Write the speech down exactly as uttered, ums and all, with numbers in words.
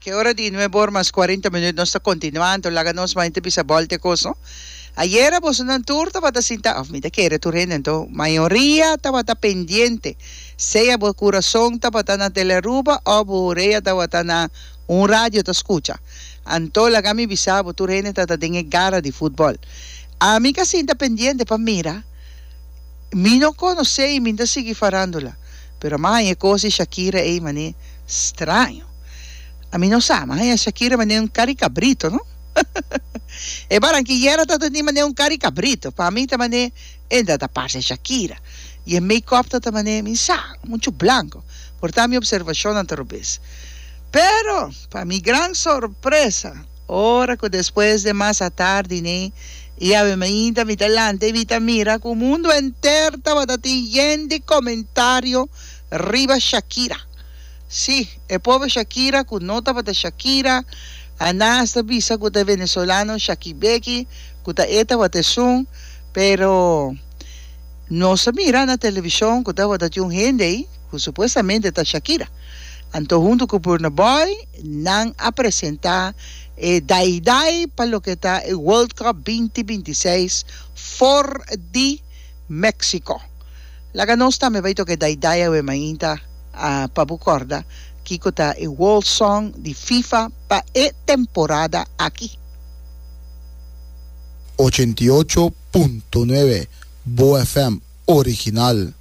Ke ora di nuebe or mas cuarenta minuut, nos ta continuando, laga nos mainte bisa bolte cos, no? Ayera bosonan tur tabata sinta, of mi ta kere tur hende, anto mayoria tabata pendiente. Sea bo curason tabata na Telearuba of bo orea tabata na un radio ta scucha. Anto laga mi bisa bo, tur hende tata den e gara di futbol. Ami ka sinta pendiente pa mira. Mi no conoce y mi ta sigui farándula, pero m'a haña e cos di Shakira ey mane straño. Ami no sa, m'a haña Shakira mane un cari cabrito, no? E Barranquillera ta teni mane un cari cabrito. Pa mi ta mane e ta ta parce Shakira. Y e make-up ta ta mane, mi sa, mucho blanco. Por ta mi observacionnan ta robes. Pero, pa mi gran sorpresa, ora cu despues de mas atardi ne, y awe mainta mi ta lanta y mi ta mira cu mundo enter tabata tin yen di comentario riba Shakira. Sí, e pober Shakira cu no tabata Shakira, a nan hasta bisa cu ta e venezolano Shakibeki, cu ta e tabata esun, pero nos a mira na television cu tabata tin un hende ey cu supuestamente ta Shakira. Anto hunto cu Burna Boy nan a presenta e Dai Dai pa loke ta e World Cup binti binti seis for di Mexico. Laga nos tambe bai toca e Dai Dai awe mainta pa bo corda kico ta e World Song di FIFA pa e temporada aki. Ochenta i ocho punto nuebe Bo F M original.